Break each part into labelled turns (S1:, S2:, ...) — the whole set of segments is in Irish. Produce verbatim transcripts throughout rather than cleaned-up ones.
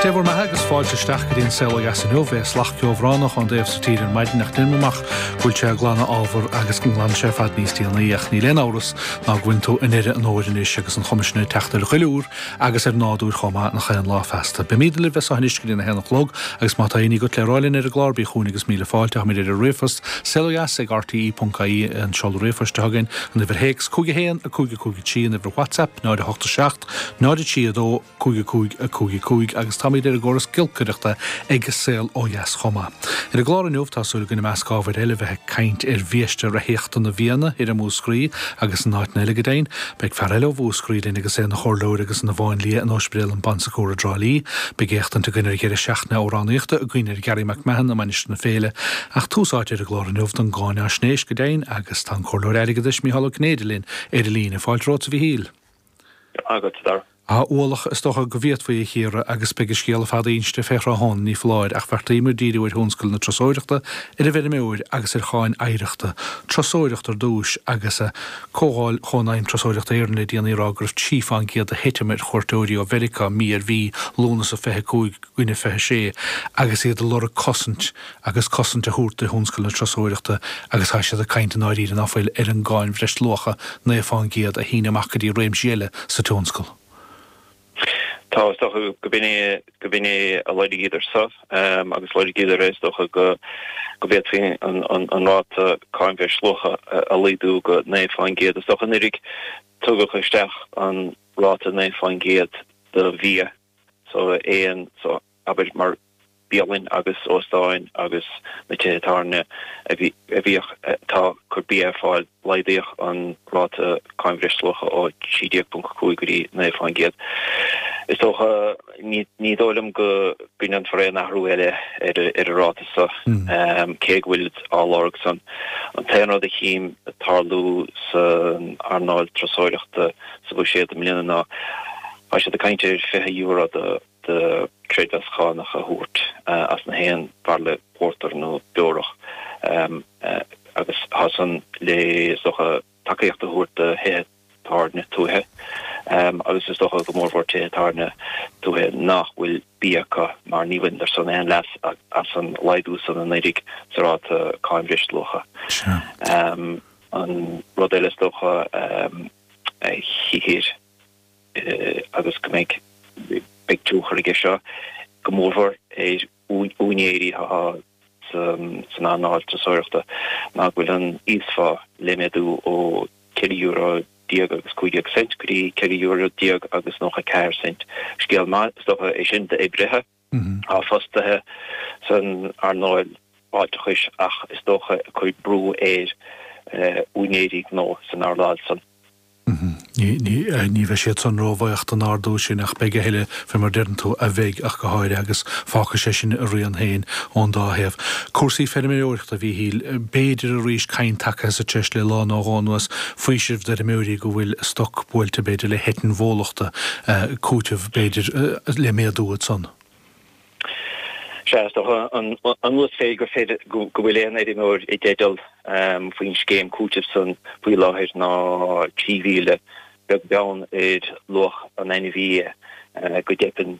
S1: Dé bhur mbeatha agus fáilte isteach go dtí an Saol Ó Dheas inniu. Bhí slat ceobhránach ón dtaobh sa tír ar maidin ach deinim amach go bhfuil sé ag glanadh ábhar agus go nglanfaidh sé ar fad níos déanaí ach níl aon amhras ná go bhfuil tú i ndeireadh an fhómhair anois agus an chuma sin ag teacht ar dhuilliúr agus ar nádúr chomh maith nach aon lá feasta. Beimid libh as seo anois go dtí a haon a chlog agus má tá aon ní agat le rá linn ar an gclár bí chugainn agus míle fáilte. Táimid ar an ríomhphost saolodheas ag rte.ie an seoladh ríomhphoist atá againn an uimhir théacs cúig a haon a cúig a cúig a trí an uimhir WhatsApp náid a hocht a seacht náid a trí a dó cúig a cúig a cúig a cúig agus táimid ar an gcóras giolcaireachta ag Saol Ó Dheas chomh maith. Ar an gclár inniu tá súil againn i measc ábhair eile bheith ag caint ar bhiaiste reithíochta na bhFianna i Múscraí agus in áiteanna eile go deimhin. Beidh fear eile ó Mhúscraí linn agus é ina chomhairleoir agus ina mháinlia in Ospidéal an Bon Secours i dTrá Lí. Beidh éachtaint againn ar dheireadh seachtaine amhránaíochta i gcuimhne ar Gary McMahon i Mainistir na Féile ach tús áite ar an gclár inniu don gcáináisnéis go deimhin agus tá an comhairleoir airgeadais Mícheál Ó Cinnéide linn ar an líne. Fáilte romhat a Mhíchíl.
S2: Agat dar.
S1: Tá ualach is dócha go bhféadfaí a chíoradh agus beidh an scéal fada inste fé thráthnóna ní foláir ach bheartaíomar díriú ar thionscal na turasóireachta, ar an bhfeirmeoir agus ar cháin oidhreachta. Turasóireacht ar dtús agus Comhdháil Chónaidhm Turasóireachta Éireann le déanaí ag rá go raibh trí faoin gcéad de thitim ar chuairteoirí ó Mheiriceá mí ar mhí Lúnasa fiche cúig i gcoinne fiche sé agus iad ag lorg cosaint agus cosaint a thabhairt do thionscal na turasóireachta agus tá siad ag caint i ndáiríre ná fuil ar an gcáin bhreisluacha naoi faoin gcéad a shíneadh amach go dtí réimsí eile sa tionscal.
S2: Tá is dócha go b'in é go b'in é a lorgaíodar so agus lorgaíodar é is dócha go go bhféadfaí an an an ráta cáin bhreisluacha a laghdú go naoi faoin gcéad. Is dócha anuraidh tugadh isteach an ráta naoi faoin gcéad do bhia so aon so abair mar bialann agus óstáin agus na tithe tábhairne a bhí a bhíodh atá ag cur bia ar fáil, laghdaíodh an ráta cáin bhreisluacha ó trí déag ponc a cúig go dtí naoi faoin gcéad. Is dócha, ní ní dóigh liom go go ndéanfar aon athrú eile ar ar an ráta so, cé go bhfuil á lorg san. An t-aon rud a chím ag tarlú san earnáil turasóireachta sa bhuiséad i mbliana ná tá siad ag caint ar fiche euro do do creidmheas cánach a thabhairt as na haon bhairille pórtair nó beorach agus tá san le is dócha tacaíocht a thabhairt do thithe tábhairne tuaithe agus is dócha go mórmhór tithe tábhairne tuaithe nach bhfuil bia acu mar ní bhaineadar san aon leas as an laghdú san anuraidh sa ráta cáin bhreisluacha. An rud eile is dócha a chíthear agus go mbeidh beidh tionchar aige seo go mórmhór ar úinéirí atá san earnáil turasóireachta ná go bhfuil an íosphá le méadú ó ceithre euro déag agus cúig déag cent go dtí ceithre euro déag agus nócha ceathair cent. Scéal maith is dócha é sin d'oibrithe atá fostaithe san earnáil fáilteachais ach is dócha ag cur brú ar úinéirí gnó san earnáil san.
S1: Ní bheidh siad san róbhuíoch den ardú sin ach beidh a thuilleadh, fé mar deireann tú, a bheidh ach go háirithe agus fágfaidh sé sin a rian féin ón dá thaobh. Cúrsaí feirmeoireachta, a Mhíchíl, b'fhéidir arís caint tagtha sa treis le lá nó dhó anuas, faoiseamh d'fheirmeoirí go bhfuil a stoc buailte b'fhéidir le heitinn bhólachta, cúiteamh b'fhéidir le méadú ansan.
S2: Sea, is dócha an uasmhéid gur féidir go bhfuil aon fheirmeoir i dteideal faoin scéim cúitimh san faoi láthair ná trí mhíle, beag beann ar luach an ainmhí go dteipeann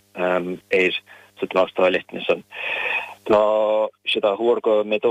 S2: air sa tástáil eitinne san. Tá siad á thuar go méadóidh.